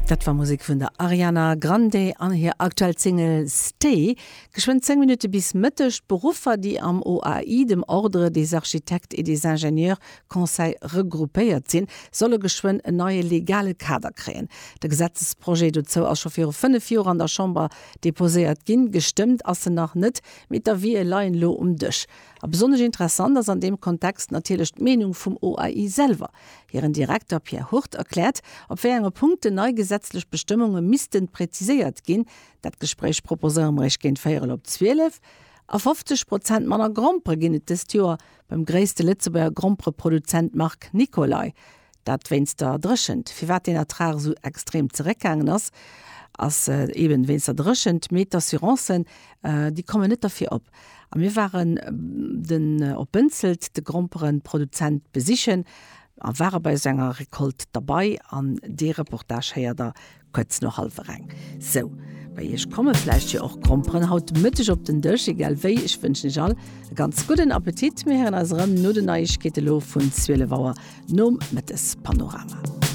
Dat war Musek vun der Ariana Grande an hir aktuell Single Stay. Geschwënn 10 Minutte bis Mëtteg. D'Beruffer, déi am OAI, dem Ordre des architectes et des ingénieurs conseils, regroupéiert sinn, solle geschwënn en neie legale Kader kréien. De Gesetzesprojet dozou ass scho viru 5 Joer an der Chamber deposéiert ginn. Gestëmmt ass en nach net, mee d'Avisë leien elo um Dësch. A besonnesch interessant ass an deem Kontext natierlech d'Meenung vum OAI selwer. Hiren Direkter Pierre Hurt erkläert, op wéi enge Punkten nei gesetzlech Bestëmmunge missten präziséiert ginn. Dat Gespréich proposéiere mer Iech géint véierel op 12. A 50 Prozent manner Grompere ginn et dëst Joer beim gréisste Lëtzebuerger Grompereproduzent Marc Nicolay. Dat wéinst der Dréchent. Firwat deen Ertrag esou extrem zeréckgaangen ass, ass eben wéinst der Dréchent. Mee d'Assurancen, déi kommen net derfir op. A mir waren den op Bënzelt de Gromperenproduzent besichen a ware bei esou enger Recolte derbei an dee Reportage héiert der kuerz no hallwer eng. Sou, bei iech komme vläicht jo och Gromperen haut Mëtteg op den Dësch. Egal wéi, ech wënschen iech all e ganz gudden Appetit. Mir héieren eis erëm no den Neiegkeete lo vun 12 Auer nom Mëttespanorama.